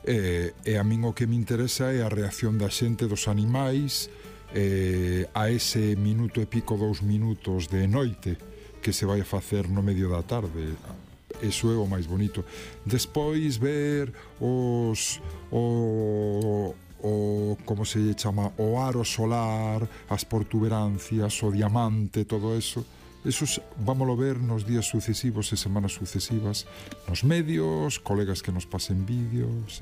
E a min o que me interesa é a reacción da xente, dos animais, a ese minuto e pico, 2 minutos de noite que se vai a facer no medio da tarde. Eso é o máis bonito. Despois ver como se chama, o aro solar, as protuberancias, o diamante, todo eso vámoslo ver nos días sucesivos e semanas sucesivas nos medios, colegas que nos pasen vídeos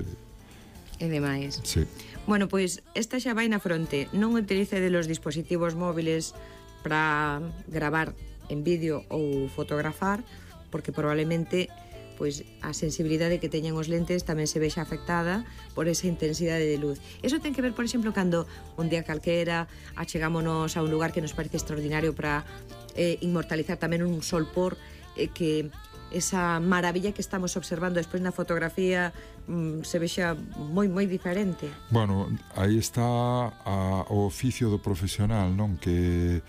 e demais. Sí. Bueno, pois esta xa vai na fronte. Non utilice de los dispositivos móviles para gravar en vídeo ou fotografar, porque probablemente pois a sensibilidade que teñen os lentes tamén se vexa afectada por esa intensidade de luz. Eso ten que ver, por exemplo, cando un día calquera achegámonos a un lugar que nos parece extraordinario para inmortalizar tamén un sol por que esa maravilla que estamos observando despois na fotografía se vexa moi diferente. Bueno, aí está o oficio do profesional, non? Que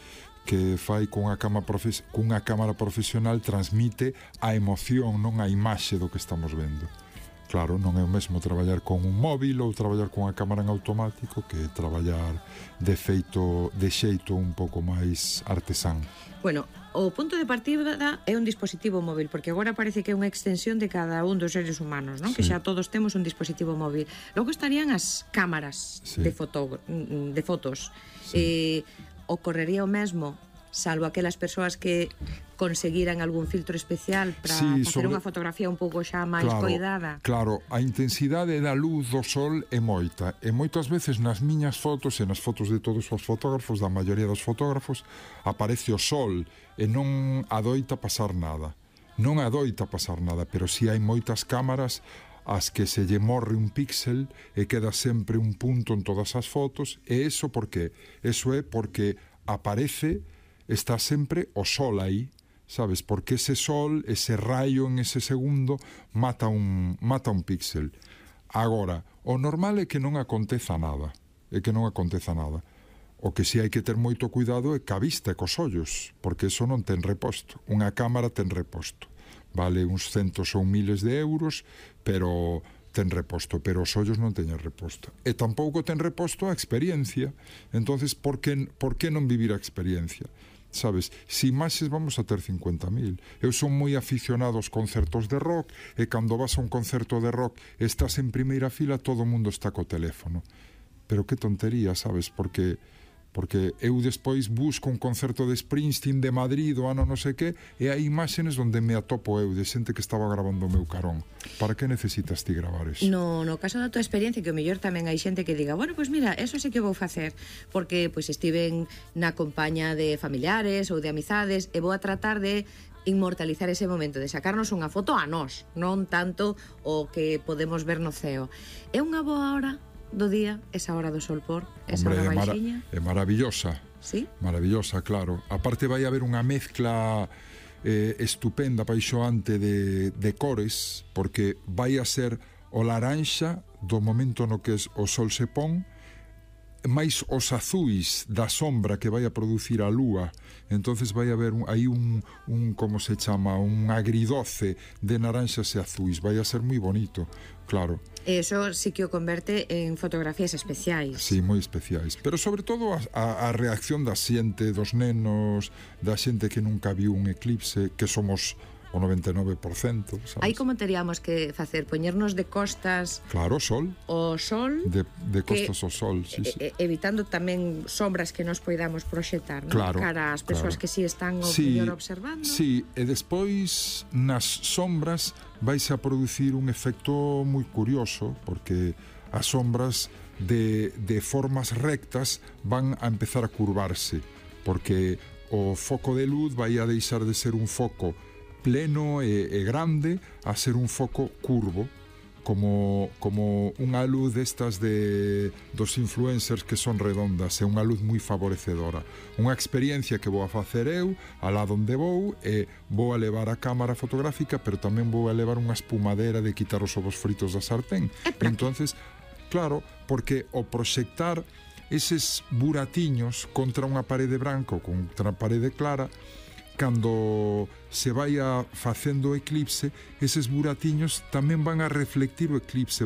fai cunha cámara profesional, transmite a emoción, non a imaxe do que estamos vendo. Claro, non é o mesmo traballar con un móvil ou traballar con a cámara en automático que traballar de xeito un pouco máis artesán. Bueno, o punto de partida é un dispositivo móvil, porque agora parece que é unha extensión de cada un dos seres humanos, non? Sí. Que xa todos temos un dispositivo móvil. Logo estarían as cámaras de fotos. Sí. Ocorrería o mesmo, salvo aquelas persoas que conseguiran algún filtro especial para facer unha fotografía un pouco xa máis coidada. Claro, a intensidade da luz do sol é moita, e moitas veces nas miñas fotos e nas fotos de todos os fotógrafos, da maioría dos fotógrafos, aparece o sol e non adoita pasar nada. Non adoita pasar nada, pero si hai moitas cámaras as que se lle morre un píxel e queda sempre un punto en todas as fotos, e eso por qué? Eso é porque aparece, está sempre o sol aí, sabes? Porque ese sol, ese rayo en ese segundo mata un píxel. Agora, o normal é que non aconteza nada, O que si hai que ter moito cuidado é ca vista e cos ollos, porque eso non ten reposto. Unha cámara ten reposto. Vale uns centos ou miles de euros, pero ten reposto, pero os ollos non teñen reposto. E tampouco ten reposto a experiencia. Entonces, por que non vivir a experiencia? Sabes, si imaxes vamos a ter 50.000. Eu son moi aficionado aos concertos de rock, e cando vas a un concerto de rock estás en primeira fila, todo o mundo está co teléfono. Pero que tontería, sabes, porque eu despois busco un concerto de Springsteen de Madrid do ano non sei que, e hai imágenes onde me atopo eu de xente que estaba grabando o meu carón. Para que necesitas ti gravar eso? No caso da tua experiencia, que o mellor tamén hai xente que diga, bueno, pois mira, eso sí que vou facer, porque pois estiven na compañía de familiares ou de amizades e vou a tratar de inmortalizar ese momento, de sacarnos unha foto a nós, non tanto o que podemos ver no ceo. É unha boa hora do día, esa hora do sol por, esa hora baixiña? É maravillosa. Sí? Maravillosa, claro. Aparte vai haber unha mezcla estupenda, paixoante de cores, porque vai a ser o laranxa do momento no que o sol se pon, máis os azuis da sombra que vai a producir a lúa. Entonces vai haber aí un como se chama, un agridoce de naranxas e azuis. Vai a ser moi bonito, claro. Eso sí que o converte en fotografías especiais. Sí, moi especiais. Pero sobre todo a reacción da xente, dos nenos, da xente que nunca viu un eclipse, que somos o 99%, sabes? Aí como teríamos que facer? Poñernos de costas... Claro, sol. O sol... De costas ao sol, sí. Evitando tamén sombras que nos poidamos proxetar, non? Claro, cara ás persoas que si están o mellor observando. Sí, e despois nas sombras vais a producir un efecto moi curioso, porque as sombras de formas rectas van a empezar a curvarse, porque o foco de luz vai a deixar de ser un foco pleno e grande a ser un foco curvo, como unha luz destas dos influencers que son redondas, é unha luz moi favorecedora. Unha experiencia que vou a facer eu, alá onde vou, e vou a levar a cámara fotográfica, pero tamén vou a levar unha espumadera de quitar os ovos fritos da sartén. Entonces, claro, porque o proxectar eses buratiños contra unha parede branca ou contra unha parede clara, cando se vai facendo o eclipse, eses buratiños tamén van a reflectir o eclipse,